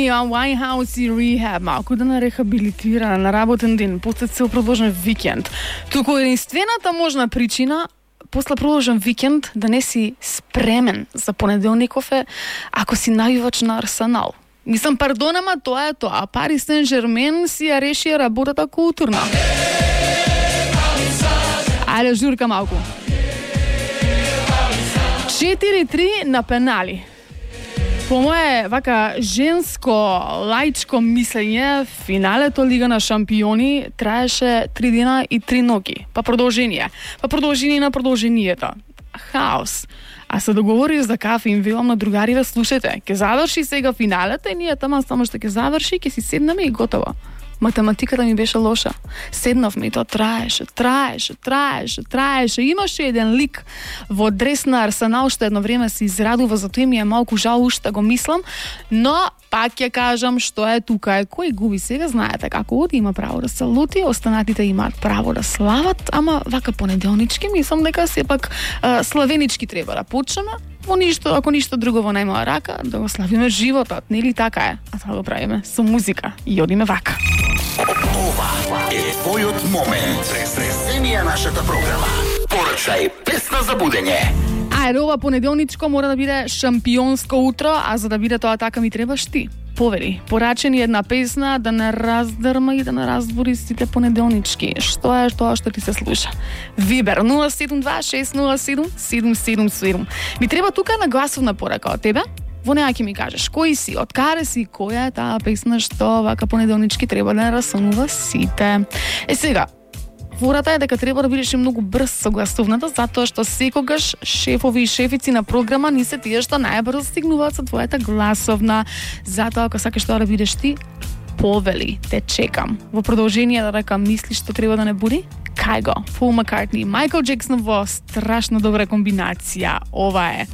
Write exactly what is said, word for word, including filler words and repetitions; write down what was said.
Amy Winehouse и Rehab, малку да на рехабилитира на работен ден, после цел продолжен викенд. Туку единствената можна причина после продолжен викенд да не си спремен за понеделников е ако си навивач на Арсенал. Мислам, пардон, ама тоа е тоа. Пари Сен-Жермен си ја решија работата културна. Ајде, журка малку. четири три на пенали. По моje вака женско лаичко мислење, финалето Лига на шампиони траеше три дена и три ноги. Па продолжение. Па продолжение на продолжението. Хаос. А се договориш за кафе им велам на другариве, слушајте, ќе заврши сега финалето и ние тама само што ќе заврши, ќе си седнеме и готово. Математиката ми беше лоша. Седнавме и тоа траеше, траеше, траеше, траеше. Имаше еден лик во дрес на Арсенал што едно време се израдува, затоа ми е малку жал уште го мислам, но пак ќе кажам што е тука е кој губи сега, знаете како оди, има право да се лути, останатите имаат право да слават, ама вака понеделнички мислам дека сепак а, славенички треба да почнеме. Во ништо, ако ништо друго во најмала рака, да го славиме животот, нели така е? А тоа го правиме со музика и одиме вака. Ова е твојот момент. Престресенија нашата програма. Порачај песна за будење. Ајде, ова понеделничко мора да биде шампионско утро, а за да биде тоа така ми требаш ти. Повери, порачени една песна да не раздрма и да не разбори сите понеделнички. Што е тоа што ти се слуша? Вибер нула седум два шест нула седум седум седум седум. Ми треба тука на гласовна порака од тебе. Во неа ќе ми кажеш кој си, од каде си, која е таа песна што вака понеделнички треба да не расонува сите. Е сега, фората е дека треба да бидеш многу брз со гласовната, затоа што секогаш шефови и шефици на програма не се тие што најбрзо стигнуваат со твојата гласовна. Затоа ако сакаш тоа да бидеш ти, повели, те чекам. Во продолжение да рекам, мислиш што треба да не буди? Кај го? Пол Маккартни, Майкл Джексон во страшно добра комбинација. Ова е